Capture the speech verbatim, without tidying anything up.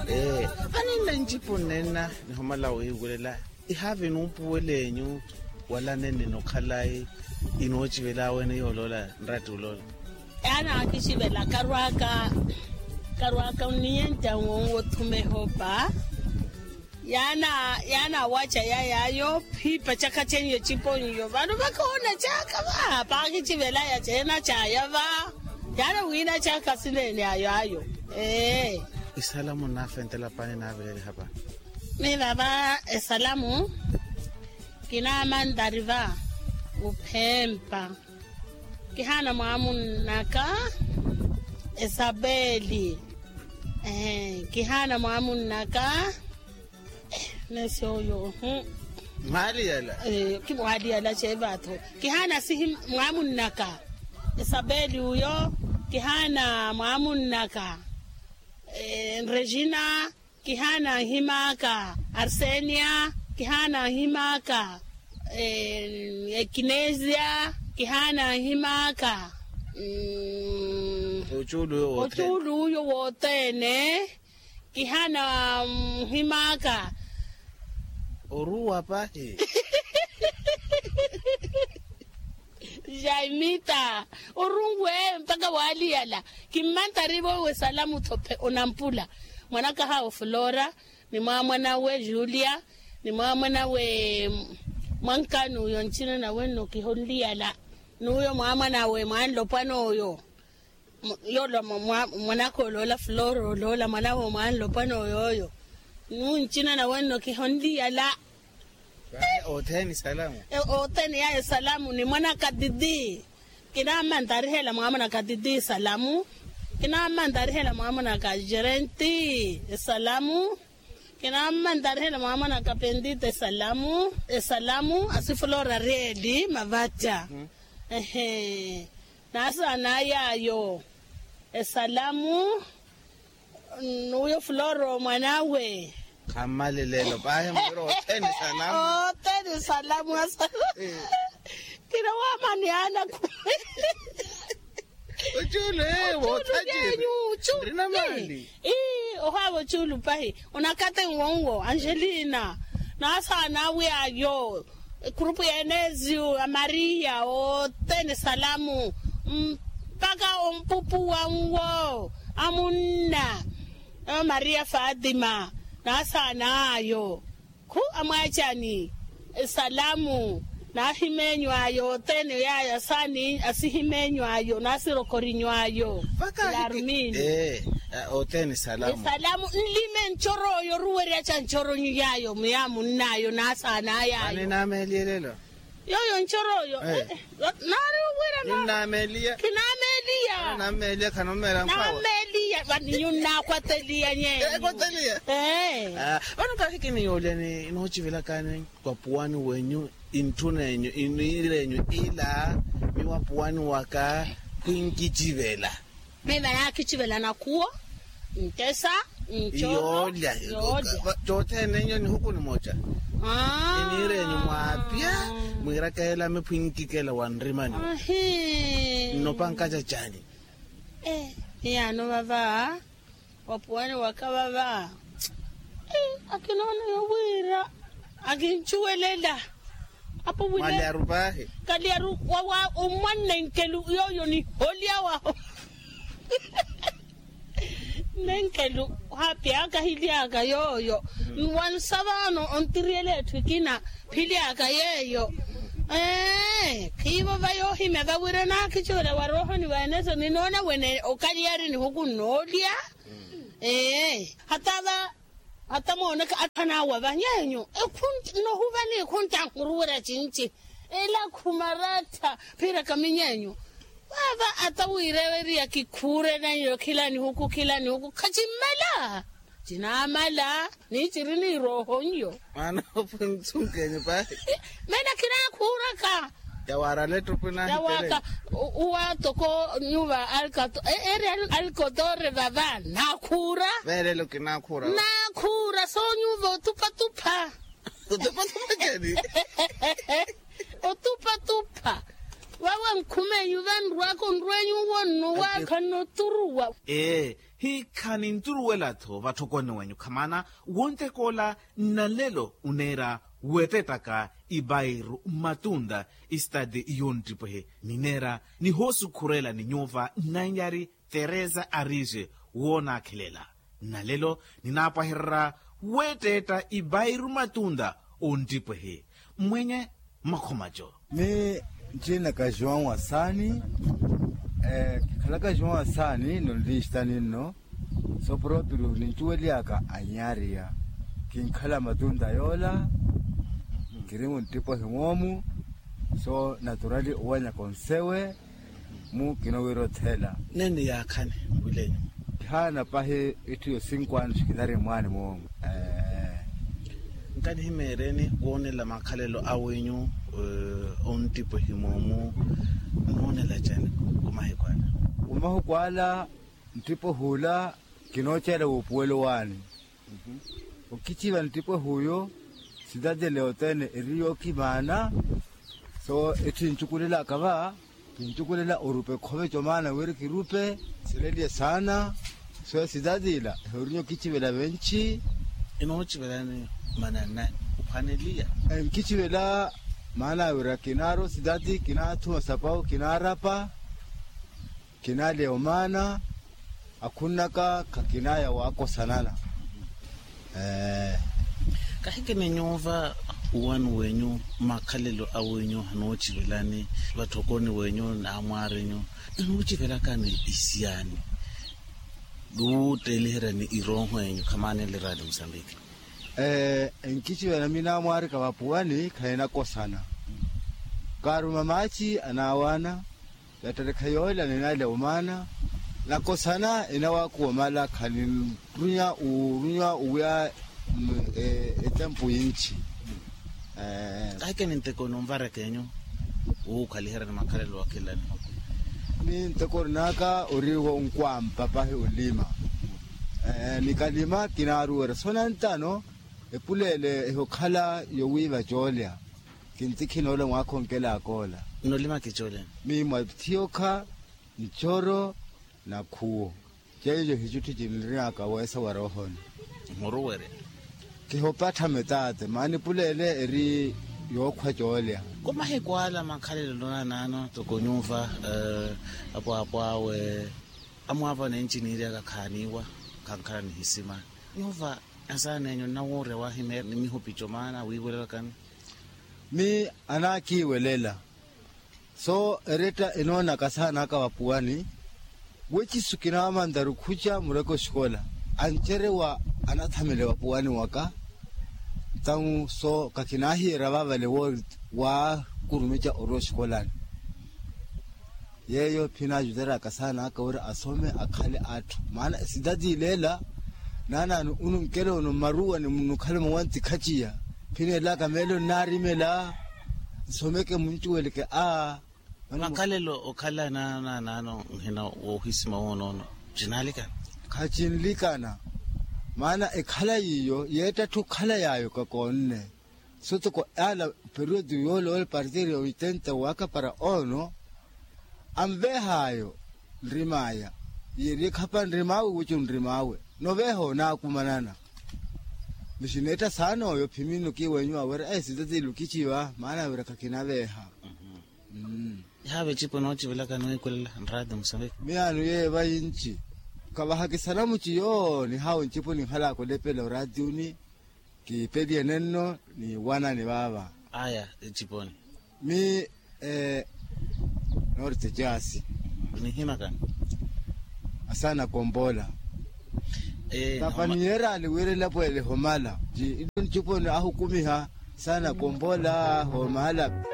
Ee, vaninna ncipo nnenna nihumala wiiwulela. Ihaavi numpuwel'enyu wala nenni nokhalayi inoocivela wene yooloola nratti oloola. Yaana akicivela karwaaka karwaaka onniyenta nwowo othuma ehopa. Yaana yaana awaca yayaayo phiipa caka ceiyo ecipo nyo vano vakoona caka va paakicivelaya ceena caya va. Yaana wiina caka sineene ayo ayo. Ee. Esalamu nnaafentela pani naaveleliha pani. Miva va esalamu kinaamantari va uphempa. Kihaana mwaamunnaka esapeli. Kihaana mwaamunnaka. Nesi oyo. Mwaaliyala. Mwaaliyala ceevatho. Kihaana sihi mwaamunnaka esapeli uyo. Kihaana mwaamunnaka regina. Kihaana nhim'aka arsenia. Kihaana nhim'aka ekinesia. Kihaana nhim'aka ocuulu uyo wothene. Kihaana nhim'aka oruwa pahi. Jaimita orunwe mpakha waaliyala. Kimmantari vowe salamu thophe onampula mwanakahawe flora ni mwaamwanawe julia ni mwaamwanawe mwankani uyo ncina nawe nno kihonliyala. N'uyo mwaamwanawe mwanlopwana oyo yoola mwanaka oloola flora oloola mwanawe mwanlopwana oyooyo. N'uncina nawe nno kihonliyala. Othene salamu. Othene yayo salamu ni mwanaka titi. Kinaammantarihela mwaamwanaka titi salamu. Kinaammantarihela mwaamwanaka jerenti salamu. Kinaammantarihela mwaamwanaka pentite salamu. Esalamu asifulora reeli mavaca. Ehe. Nasaana yaayo esalamu n'uyo flora omwan'awe. Khammalelelo pahi mwira othene salamu. Othene salamu asa. Kira waamani anaku. Ocuulu ee woothaci. Ocuulu yenyu ocuulu. Nrina mali. Ii ohaava ocuulu pahi. Onakathi nwo nwo angelina nasaana awe ayo. Ekhurupu ya eneziyu ya mariya othene salamu. Mpakha ompupuwa nwo amunna. Mariya fatima nasaana ayo. Khu amwaacani esalamu. Nahimeenyu ayo othene yaya saani asihimeenyu ayo nasirokorinyu ayo. Yarumini. Othene esalamu nlime ncoro oyo oruwerya ca ncoronyu yayo muya munn'ayo nasaana yayo. Yoyo ncoro oyo. Naari owira naari. Kinameeliya. Nameeliya. Vano nkahi kiniyoolya ni noocivelakani wapuwani wenyu intthunenyu iniir'enyu ila miwapuwani waka khwinkicivela. Miva naakicivela nakhuwo ntesa nco yoolya. Cothene nyo nihuku nimoca. Iniir'enyu mwaapya mwiirakehela miphwinkikela wa nrimani. Nnopa nkacacani. Hiyaano vava wapuwani waka vava. Akinoona yowiira akincuwelela. Apo wile kalyaru pahi. Kalyaru wawa omwannenkelu yooyo niholya waho. Nenkelu hapyaka hilyaka yooyo. Nwansa vano ontiriyela etthu ekina philyaka yeeyo. Ee khiivo va yoohimya vawira naakhicuwela wa roohoni va eneso ninoona wene okalyari nihuku nnoolya. Ee hata va hata mooneka atthu anaawa va nyeenyu. Nohuva ni ekhuntta nhuruwerya cinci. Elakhu marattha phiirakami nyeenyu. Vaava ata wiirewerya kikhuure naiyo khila nihuku khila nihuku khacimmela. Cinaamala ni ciri ni irooho nyo. Mwaana ophunsunkenyu pahi. Meena khinaakhuuraka. Yawaarala ettupwi naahitele. Uwa toko nyuva alkatore vava naakhuura. Veerelo kinaakhuura. Naakhuura soonyuva otupatupha. Otupatupha cani? Otupatupha. Vawe nkhumenyu vanrwaka onrwenyu wonno waakha nnoturuwa. Ee. Hiikha ninturuwela-tho vatthokoni wenyu khamana wontekoola. Nnalelo oneera weetettaka ipairu mmatunta, istati yonttipwehe nineera nihoosukhurela ni nyuuva nnanyari teresa arixe. Woonaakhelela nnalelo ninaapwahererya weettetta ipairu mmatunta. Ontipwehe mmwenye mmakhomaco. Mi ncina kaxiwaawa saani. Kikhala kaxiwaawa saani nonlixitani nno. So proprio nincuweliyaka anyaariya kinkhala matunta yoola. Kiri munttipo himoomu so naturali owenyaka onsewe. Mu kinowira othela nene yaakhani. Wilenyu kihaana pahi itthu yo cinqu annos kinari mwaani moomu. Nkanihimeereeni woonela makhalelo awenyu. Onttipwehi moomu noonela cani? Kumahiku ala kumahiku ala nttipwehi ula kinooceela wuupuwelo waani. Okiciva nttipwehi uyo sitati leyo tene eri yookimaana. So etthu encukulelaka va kincukulela orupe khove comaana wiri kirupe. Sileliye saana. So sitati ila ehorinye okicivela venci. Inoocivelani mananani? Uphwaneliya enkicivela maana wira kinaaro sitati kinaathuma sapau kinaarapa. Kinaaleya omaana akhunnaka khakinaaya waakosanana. Kahikini nyuuva uwani wenyu makhalelo awenyu hanoocivelani vatthokoni wenyu n'amwaarinyu? Inoocivelakani isiyaani wuutteeliheryani irooho enyu khamaanele raali musambiki? Enkicivela mi n'amwaarika vapuwani khahinakosana. Kaaruma maaci anaawaana. Yatterekha yoola ninaaleya omaana nakosana enawaakuwa omala khaninrunya urunya owiya. Etempu yinci. Kahikeni nteko ninvaraka enyu wuukhaliheryani makhalelo wakhilani? Ni nteko orinaka ori wonkwampa pahi olima. Nikalima kinaaruwerya so nantano epuleele ehokhala yowiiva coolya. Kintikhina ole mwaakhonkelaaka ola. Nolima kicooleni? Miimwa thiyokha ncoro na khuwo. Ceico hicutthu ciniriyaka weesa wa roohoni. Muruwerya kihopattha metaate maana epuleele eri yookhwa coolya. Komahiku ala makhalelo noonanano toko nyuuva apwaapwaawe amwaava nenci niiriyaka khaaniiwa. Khankhala nihisima nyuuva. Asaana enyu nnawuurya wahimeera ni mihupico maana wiiwelelakani? Mi anaakiiwelela. So eretta enoonaka asaana aka vapuwani wecisu kinaamantaru khuca mureke oxikola ancerewa. Anathamele vapuwani waka. Ntawu so kakinaahiyerya vaavale wookurumeca orwa oxikolani. Yeeyo phinaajuteryaka saana aka wira asome akhale atthu maana esitati ileela. Naanaani ununkele ono mmaruwani munukhalemo wantikhaciya. Phineelaka meelo nnaarimela nsomeke muncuweleke a makhalelo okhala naanaano nhina woohisima woonoono. Cinaalikana? Khacinlikana. Maana ekhala yiiyo yeettatthu okhala yaayo kakoonne. Sotoko ala periodo yoole ole partido ya oitenta waka para ono anveehaayo. Nrimaya yeri ekhapa nrimaawe wicu nrimaawe noveeha onaakumanana. Misineetta saana oyo phimino kiiwenyu awera esitati lukiciva maana wira khakinaveeha. Ihaava ecipo noocivelaka niwiikulela nraati musaveke. Miyaano yeeva yinci kavahakisana muciyo nihaawo ncipo ninhalaka olepela oraatiuni. Kiipeliye nenno ni wanani vaava. Aya eciponi. Mi norte jaasi. Nihimakani? Asaana kombola. Tapa niyerani wira elapwele ehomala. Ci ilo nciponi ahukumiha. Asaana kombola homala.